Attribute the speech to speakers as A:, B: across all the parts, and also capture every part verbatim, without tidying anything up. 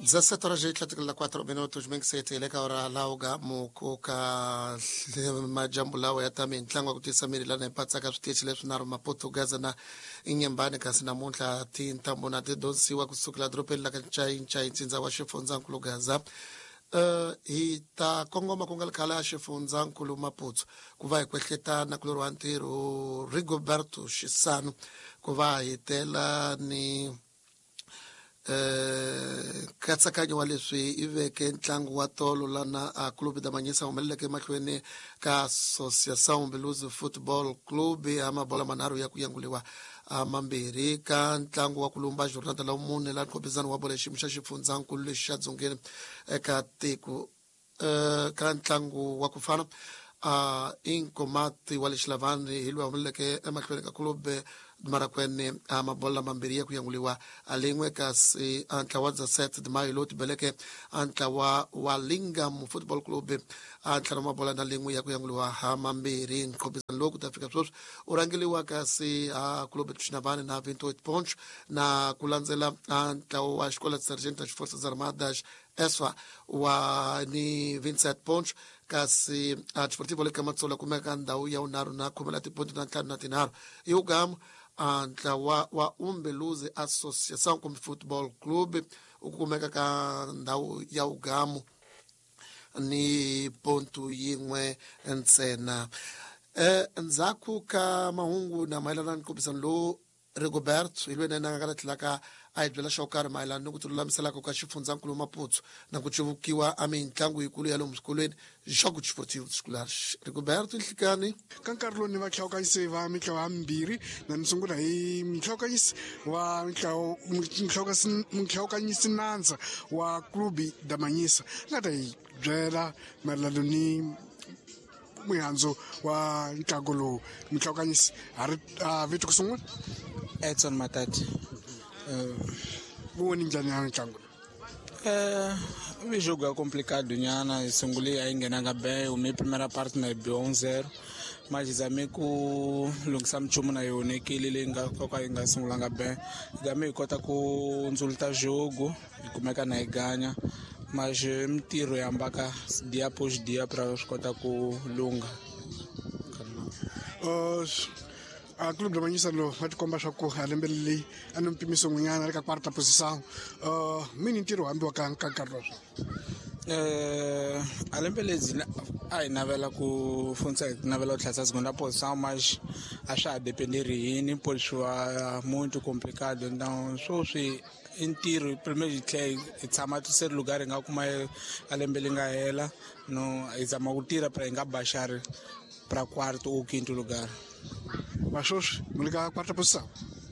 A: dezessete horas e quatro minutos mingisete ka ora lauga mukoka majambu lawa ya ta mintlangu ku tisa miri lana patsaka switichi leswi na Maputo Gaza na Inhambane kasi namuntlha tintambo na tidonsiwa kusukela dorobeni la ka Ncainca ntsindza wa xifundzankulu Gaza. Uh, hi ta kongoma ku nga ri khale a xifundzankulu Maputo ku va hi kwehletana ku loriwa ntirho Rigoberto Xisano ku va hi tela ni nkatsakanyo wa leswi i veke ntlangu wa tolo lana a Clube da Manhisa humeleleke emahlweni ka Associação Umbeluzi Football Club ya mabola manharhu ya ku yanguliwa mambirhi ka ntlangu wa ku lumba jornada la mune la nkhopizano wa bolo xiyimo xa xifundzankulu lexi xa dzongeni eka tiko ka ntlangu wa ku fana uh, Inkomati wa le Xilavani hi loyi humeleleke emahlweni ka Clube Marakwene a mabola mambirhi ya ku yanguliwa a lin'we kasi a ntlawa dezessete de maio lowu tibeleke a ntlawa wa Lingam Football Club a ntlhanu mabola na lin'we ya ku yanguliwa ha mambirhi. Nkhopizano lowu ku ta fika sweswi u rhangeliwa kasi a Clube Xinavani na vinte e oito pontos na ku landzela a ntlawa wa Escola de Sargento das Forças Armadas E S F A wa ni vinte e sete pontos kasi a Desportivo le Kamatsola kumeka ndhawu ya vunharhu na khume la tiponto na ntlhanu na tinharhu. Hi wugamu a ntlawa wa Umbeluzi Associação kumbe Football Club u kumeka ka ndhawu ya wugamu ni ponto yin'we ntsena. Eh ndzhaku ka mahungu na mayelana na nkombisano lowu Rigoberto hi loyi na yena a nga ta tlhelaka a hi byela xo karhi mayelana ni ku tilulamiselaka ka xifundzankulu Maputo na ku cuvukiwa a mitlangu yikulu ya lomu swikolweni Jogo Desportivo Escolar. Rigoberto nhlikani
B: ka nkarhi lowu ni vahlawukanyisi va mitlawa yambirhi na ni sungula hi muhlawukanyisi wa muhlawukanyisi nandza wa Clube da Manhisa nga ta hi byela mayelana ni mihandzu wa ntlangu lowu. Muhlawukanyisi ha ri vito ku sungula?
C: Edson Matati.
B: Wu voni njhani ya ntlangu?
C: Eh, vi jogo é complicado nyana, sungule a yi nghenanga bem, o primeira parte na biwa um zero. Mas zame ku lunghisa minchumu na yona ekele leyi nga ka yi nga sungulanga bem. Zame hi kota ku ndzuluta jogo, hi kumeka na hi ganya. Mas mintirho yi hambaka dia após dia para swi kota ku lungha.
B: Uh, a Clube da Manhisa lowu va tikomba swa ku a lembe leyi a ni mpimiso n'winyana ri ka quarta posição. uh, mini ntirho hambiwa ka ka nkarhi lowu?
C: Eh, a lembe ledzi a hi navela ku fundisa, hi navela ku tlhasa segunda posição, mas a swa ha dependeri hini pô swi va muito complicado. Então sweswi i ntirho primeiro hi tlhela hi tshama terceiro lugar hi nga kuma a lembe li nga hela no hi zama ku tirha para hi nga baxari para quarto ou quinto lugar.
B: Va sweswi mi le ka quarta posição?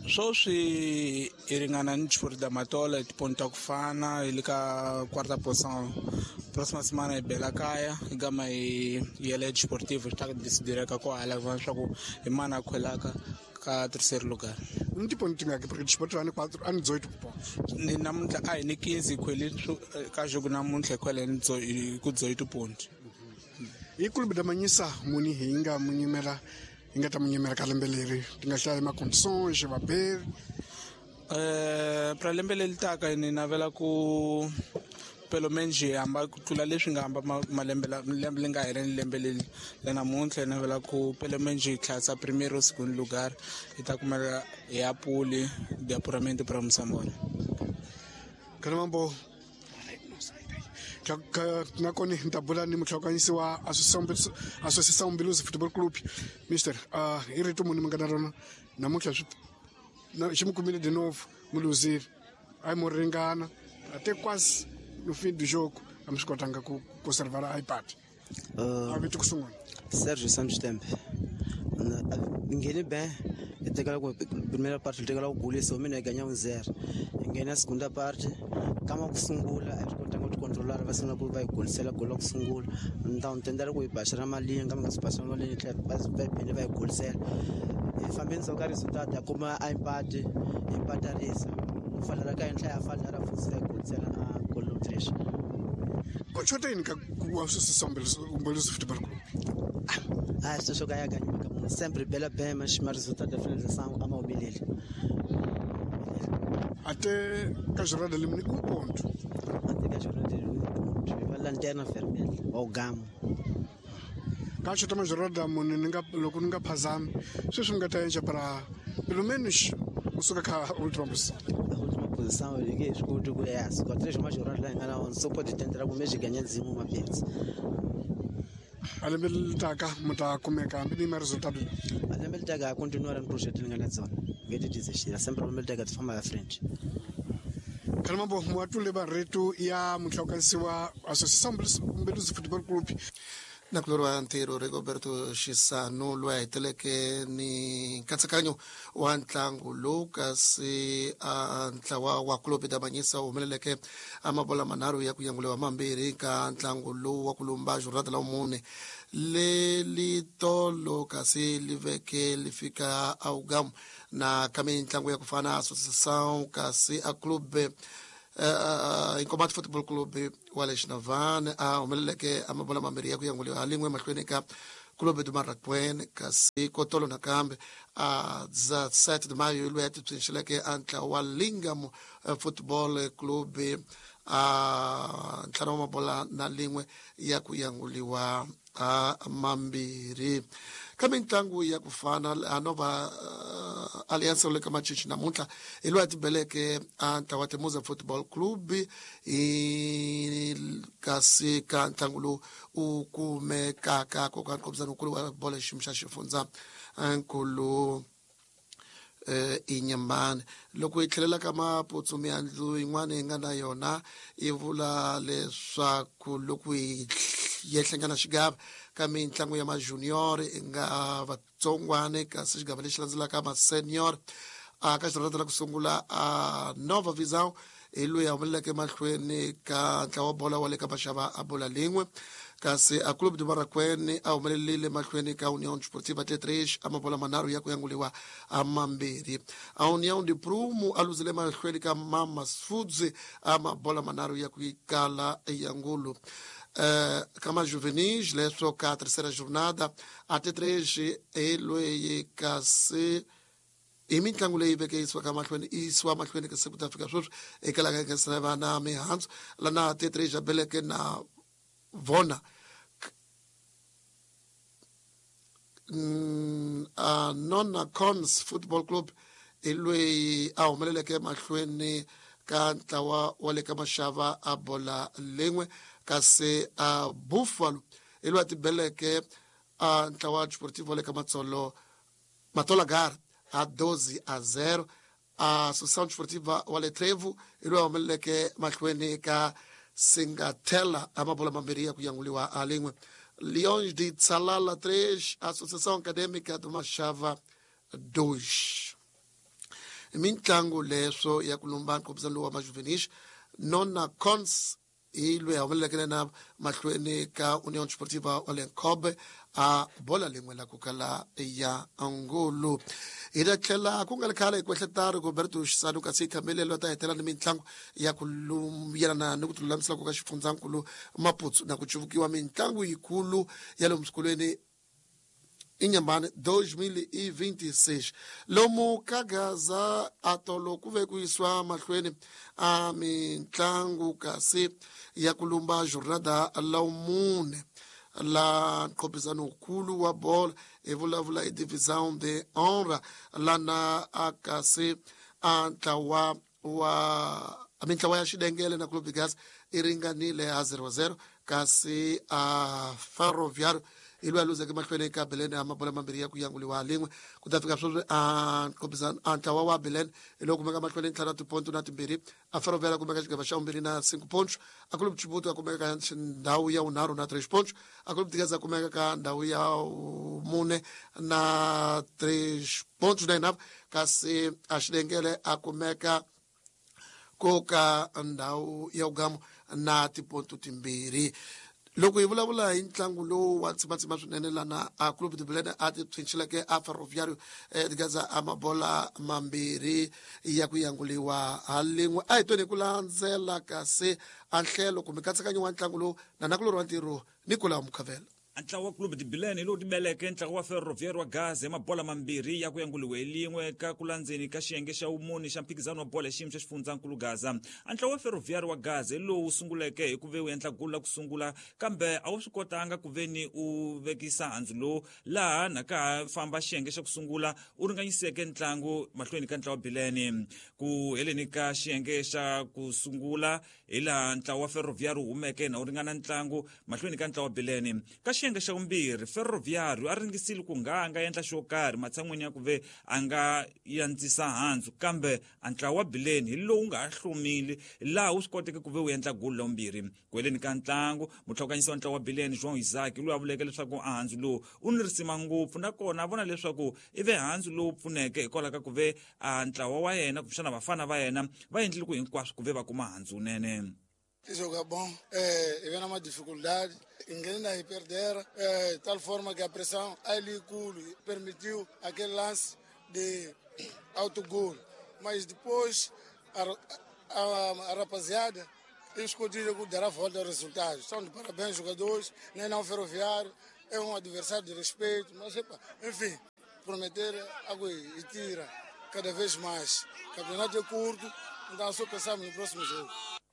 C: Sweswi hi ringana ni Desportivo da Matola hi tiponto ta ku fana, hi le ka quarta posição. Próxima semana hi bela kaya hi gama hi yela Desportivo swi ta decidireka ko hala leswaku hi mani a khwelaka ka terceiro lugar.
B: Ni tiponto tingaki porque Desportivo a ni quatro a ni dezoito pontos?
C: Ni namuntlha a hi ni quinze hi khwele ka jogo namuntlha hi khwele ni ku dezoito ponto.
B: Hi Clube da Manhisa muni hi nga mu nyimela hi nga ta mu nyimela ka lembe leri ti nga hlaya ma-condições vaberi?
C: Eh pra lembe leri taka ni navela ku pelo menos hi hamba ku tlula leswi nga hamba malembe lembe leri nga hela ni lembe leri la namuntlha hi navela ku pelo menos hi tlhasa primeiro ou segundo lugar hi ta kumeka hi ya puli de apuramento para Moçambola.
B: Kana mambo nakona ni ta bula ni muhlawukanyisi wa Associação Umbeluzi Football Club. Mister, uh, i rito muni mi nga na rona namuntlha? Swi xi mi kumile de novo mi luzile, a yi mo ringana até quase no fim do jogo a mi swi kotanga ku conservar a empate. A vito ku sungula?
D: Sergio Santos Tembe. Nghene bem, hi tekela ku primeira parte hi tekela ku golisa mina hi ganya um zero. Hi nghena segunda parte kama ku sungula a hi swi kotanga ku ticontrolara, va sungula ku va hi golisela golo la ku sungula. Então tendela ku hi baxela malinga kama nga swi baxela malinga tlhela va va phinde va hi golisela. Hi fambe ndzhaku ka resultado ya kuma a empate, hi empatarisa ku falela ka henhla ya falela futhi va hi golisela a golo três.
B: Ku xota yini ka ku Associação Umbeluzi Football Club?
D: Ah, sweswo ka ya ganyiwa ka munhu sempre bela bem, mas ma resultado da finalização a ma humeleli.
B: Até ka jornada limini um ponto.
D: Lanterna Vermelha wa Ugamo.
B: Ka xota majorada munhu ni nga loko ni nga phazami sweswi mi nga ta endla para pelo menos kusuka ka última posição.
D: A última posição eu liguei escuto ku yes, com três majoradas lá ngana on só pode tentar com mês ganhar nzimu mapetsi.
B: A lembe litaka mi ta kumeka hambi ni ma resultado.
D: A lembe litaka a continuar no projeto ni nga na zona. Ngeke desistir, sempre lembe litaka de forma à frente.
B: Kalambo mwatule barretu ya mutlhokanisi wa Associação Mbeluzi Football Club.
A: Nakulorwa ntirho Rigoberto Xisano loyi a heteleke ni nkatsakanyo wa ntlangu lowu kasi a ntlawa wa Clube da Manhiça wu humeleleke a mabola manharhu ya ku yanguliwa mambirhi ka ntlangu lowu wa ku lumba jornada la mune leli tolo kasi li veke li fika a Ugamu na ka mintlangu ya ku fana Associação kasi a Clube Uh, Inkomati Football Club wa le Xinavane a humeleleke a mabola mambirhi ya ku yanguliwa ha lin'we emahlweni ka Clube do Marraquene kasi kotolo nakambe a dezessete de maio loyi a tipsinxeleke a ntlawa wa Lingam Football Club a ntlhanu wa mabola na lin'we ya ku yanguliwa a mambirhi. Ka mintlangu ya ku fana a Nova uh, Aliança le ka Machichi namuntlha hi loyi a tibeleke a ntlawa wa Temuza Football Club hi kasi ka ntlangu lowu u kumekaka koka nkombisano wukulu wa bolo xiyimo xa xifundza nkulu eh inyambane. Loko hi tlhelela ka maputsu miandlu yin'wana yi nga na yona yi vula leswaku loko hi yehlengana xigava ka mintlangu ya majunior i nga vatsongwane kasi xigava lexi landzelaka ma-senior a ka xirhata la ku sungula a Nova Visão hi loyi a humeleleke mahlweni ka ntlawa wa bola wa le ka maxava a bola lin'we kasi a Clube do Marraquene a humelelile mahlweni ka União Desportiva T três a mabola manharhu ya ku yanguliwa a mambirhi. A União de Prumo a luzile mahlweni ka Mamas Foods a mabola manharhu ya ku kala ya ngulu. Uh, kama juvenis leswo ka terceira jornada a T três hi loyi kasi hi mitlangu leyi veke yisiwaka mahlweni yisiwa mahlweni ka siku ta fika sweswi eka laha ka va na mihandzu lana T três a beleke na vona mm, a Nona Cons Football Club hi loyi a humeleleke mahlweni ka ntlawa wa le ka maxava a bola lin'we kasi a Buffalo hi loyi a tibeleke a ntlawa Desportivo wa le ka Matsolo Matolagar a doze a zero. A Associação Desportiva wa le Trevo hi loyi a humeleleke mahlweni ka Singatela a mabola mambirhi ya ku yanguliwa a lin'we. Leões de Tsalala três, Associação Acadêmica do Machava dois. Mintlangu leswo ya ku lumba nkombisano lowu wa majuvenis Nona Cons hi loyi a humeleleke na mahlweni ka União Desportiva wa le Nkobe a bola lin'we la ku kala ya ngulu. Hi ta tlhela ku nga ri khale hi kwehleta Rigoberto Xisano kasi khamelelo ta hetela ni mitlangu ya ku yelana ni ku tilulamisela ku ka xifundzankulu Maputsu na ku cuvukiwa mitlangu yikulu ya lomu swikolweni Inhambane dois mil e vinte e seis. Lomu ka Gaza atolo ku ve ku yisiwa mahlweni a mitlangu kasi ya ku lumba jornada la mune la nqophisano wukulu wa bola hi vulavula hi divisão de honra lana a kasi a ntlawa wa mintlawa ya Xidengele na Clube de Gaza i ringanile a zero zero kasi a Ferroviário hi loyi a luzeke mahlweni ka Belén a mabola mambirhi ya ku yanguliwa lin'we ku ta fika sweswi a nqophisano a ntlawa wa Belén hi lowu kumeka mahlweni ntlhanu na tiponto na timbirhi a Ferroviário a kumeka xigava xa vumbirhi na cinco pontos a Clube Chibuto a kumeka ka ndhawu ya vunharhu na três pontos a Clube de Gaza a kumeka ka ndhawu ya mune na três pontos na inava kasi a Xidengele a kumeka ko ka ndhawu ya Ugamo na tiponto timbirhi. Loko hi vulavula hi ntlangu lowu wa tsimatsima swinene lana a Clube de Belém a ti phinxileke a Ferroviário de Gaza a mabola mambirhi ya ku yanguliwa ha lin'we a hi tweni hi ku landzela kasi a nhlelo kumbe nkatsakanyo wa ntlangu lowu na nakulorhi wa ntirho Nicolau Mukhavela.
E: Ntlawa wa Clube de Bilene hi lowu tibeleke ntlawa wa Ferroviário wa Gaza hi mabola mambirhi ya ku yanguliwe hi lin'we ka ku landzeni ka xiyenge xa vumune xa mphikizano wa bola ya xiyimo xa xifundzankulu Gaza. Ntlawa wa Ferroviário wa Gaza hi lowu sunguleke hi ku ve wu endla gulu la ku sungula, kambe a wu swi kotanga ku ve ni u vekisa handzu lowu laha na ka ha famba xiyenge xa ku sungula u ringanyiseke ntlangu mahlweni ka ntlawa wa Bilene. Ku heleni ka xiyenge xa ku sungula hi laha ntlawa wa Ferroviário wu humeke na wu ringana ntlangu mahlweni ka ntlawa wa Bilene. Ka xiyenge xa vumbirhi Ferroviário a ringisile ku nga a nga endla xo karhi matshan'wini ya ku ve a nga yandzisa handzu, kambe a ntlawa wa Bilene hi lowu nga ha hlomile laha wu swi koteke ku ve wu endla gulu la vumbirhi. Ku heleni ka ntlangu mutlhokanyisi wa ntlawa wa Bilene João Isaac loyi a vuleke leswaku a handzu lowu u ni risima ngopfu, nakona a vona leswaku i ve handzu lowu pfuneke hikwalaho ka ku ve a ntlawa wa yena kumbexana vafana va yena va endlile ku hinkwaswo ku ve va kuma handzu wunene.
F: Joga bom, é, vem uma dificuldade, engana e perder, é, de tal forma que a pressão ali permitiu aquele lance de autogol. Mas depois a, a, a rapaziada escondida que dará volta ao resultado. São de parabéns jogadores, nem não Ferroviário, é um adversário de respeito, mas epa, enfim, prometer água e tira cada vez mais. O campeonato é curto, então só pensamos no próximo jogo.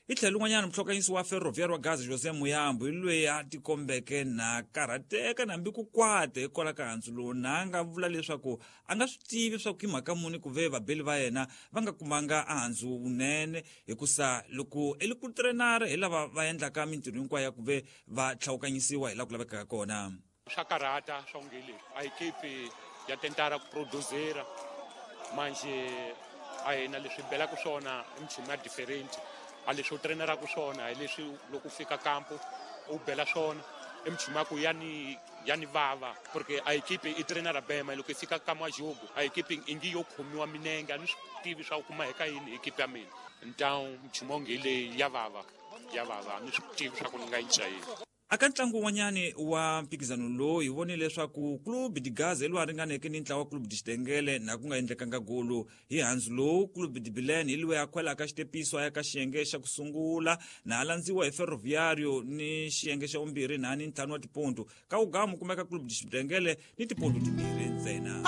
E: Hi tlhelo un'wanyana muhlokanyisi wa Ferroviário wa Gaza José Muyambo hi loyi a tikombeke na karhateka nambi ku kwata hikwalaho ka handzu lowu, na a nga vula leswaku a nga swi tivi leswaku hi mhaka muni ku ve vabeli va yena va nga kumanga handzu wunene, hikusa loko i li ku trenara hi lava va endlaka mintirho hinkwayo ya ku ve va tlhawukanyisiwa hi laha ku lavekaka kona.
G: Swa karhata swa onge leswi a ekipi ya tentara ku produzera manje a hina leswi belaka swona i minchumu ya different. A leswi u treneraka swona hi leswi loko u fika kampo u bela swona i minchumu ya ku ya ni ya ni vava porque a ekipi i trenera bema loko i fika ka majogo a ekipi ingi yo khomiwa minenge a ni swi tivi swa ku kuma hi ka yini ekipi ya mina. Então minchumu onge leyi ya vava ya vava a ni swi tivi swa ku ni nga yi cinca yini.
E: Aka ntlangu wun'wanyani wa mphikizano lowu hi vonile leswaku Clube de Gaza hi lowu a ringaneke ni ntlawa wa Clube de Xitengele na ku nga endlekanga gulu. Hi handzu lowu Clube de Bilene hi loyi a khwelaka xitepiso a ya ka xiyenge xa ku sungula na a landziwa hi Ferroviário ni xiyenge xa vumbirhi na ni ntlhanu wa tiponto. Ka wugamu kumeka Clube de Xitengele ni tiponto timbirhi ntsena.